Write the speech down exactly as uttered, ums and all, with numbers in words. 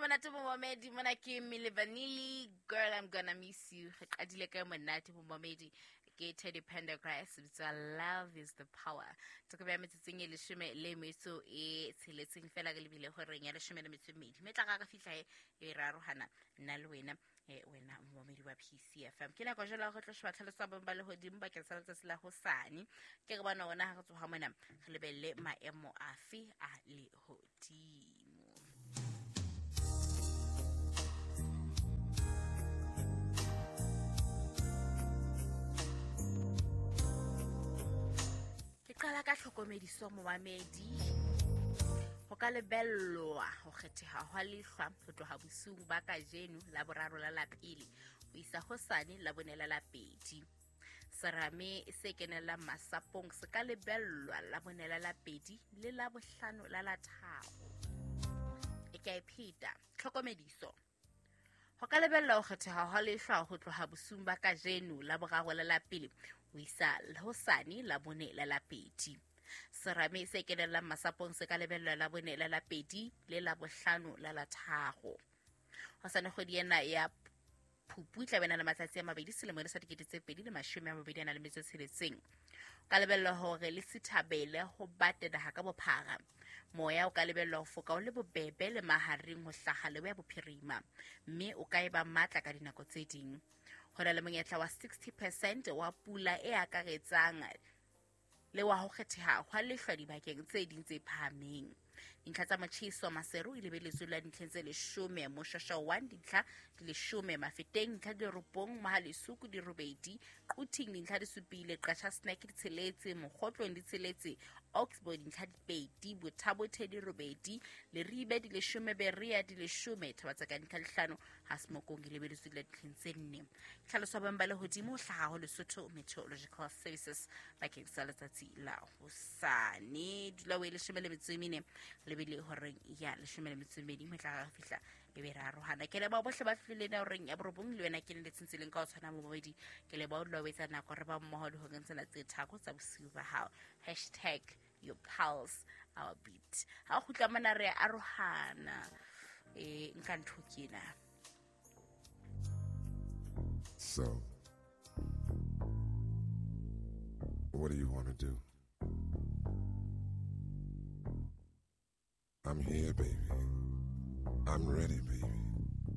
Monate momamedi, mona ke Milli Vanilli, Girl I'm Gonna Miss You. Re qadile ka monate momamedi ke Teddy Pendergrass, bitsa Love is the Power. Toko ya metsotsong e leshome le metso e tsheletseng fela re lebile horeng ya leshome le metso e mmedi. Mme tla ra re fihla he e re arohana nna le wena, eh, wena momamedi wa P C F M. Ke nako jwale ya hore re tlo sheba tlhaloso ya boemo ba lehodimo bakeng sa letsatsi la hosane. Ke re bona hona ha re tsoha mona re lebelle maemo afe a lehodimo. Ke qala ka tlhokomediso momamedi. Ho ka lebellwa ho kgetheha hwa lehlwa ho tloha bosiung ba kajeno la boraro la lapele ho isa hosane la bone la lapedi. Serame se kenellang masapong se ka lebellwa la bone la lapedi le la bohlano la la tharo. E ka e pheta tlhokomediso. Ho ka lebellwa ho kgetheha hwa lehlwa ho tloha bosiung ba kajeno la boraro la lapele ho isa hosane la bone la lapedi. Serame se kenellang masapong se ka lebellwa la bone la lapedi le la bohlano la la tharo. Hosane kgwedi ena ya Phupu e tla be na le matsatsi a mabedi selemong sa dikete tse pedi le mashome a mabedi a nang le metso e tsheletseng. O ka lebellwa hore le sithabele ho bate naha ka bophara. Moya o ka lebellwa ho foka o le bobebe le mahareng ho hlaha leboya bophirima, mme o ka eba matla ka dinako tse ding. Ho na le monyetla wa sixty percent wa pula e akaretsang le wa ho kgetheha hwa lehlwa dibakeng tse ding tse phahameng. Dintlha tsa motjheso Maseru e lebeletswe la dintlheng tse leshome, Moshwashwa one dintlha di leshome, Mafeteng dintlha di robong, Mohalesuku di robedi, Quthing dintlha di supile, Qacha's Nek di tsheletse, Mokgotlong di tsheletse, Oxbow dintlha di pedi, Botha-Bothe di robedi, Leribe di leshome, Berea di leshome, Thabatseka dintlha di hlano, Ha Semokong e lebeletswe la dintlheng tse nne. Tlhaloso ya boemo ba lehodimo ho hlaha ho Lesotho Meteorological Services bakeng sa letsatsi la hosane. Dula o e leshome le metso e mene lebile horeng ya leshome le metso e mmedi ho tla re fihla e be re arohana. Ke leboha bohle ba fihlileng na horeng ya borobong le wena ke le tsentseng ka ho tshwana momamedi. Ke leboha o dula o etsa nako re ba mmoho dihoreng tsena tse tharo tsa bosiu ba hao. Hashtag your pulse our beat. Ha o kgutla mona re arohana. Eh, nka ntho ke ena. So, what do you wanna do? I'm here, baby. I'm ready, baby.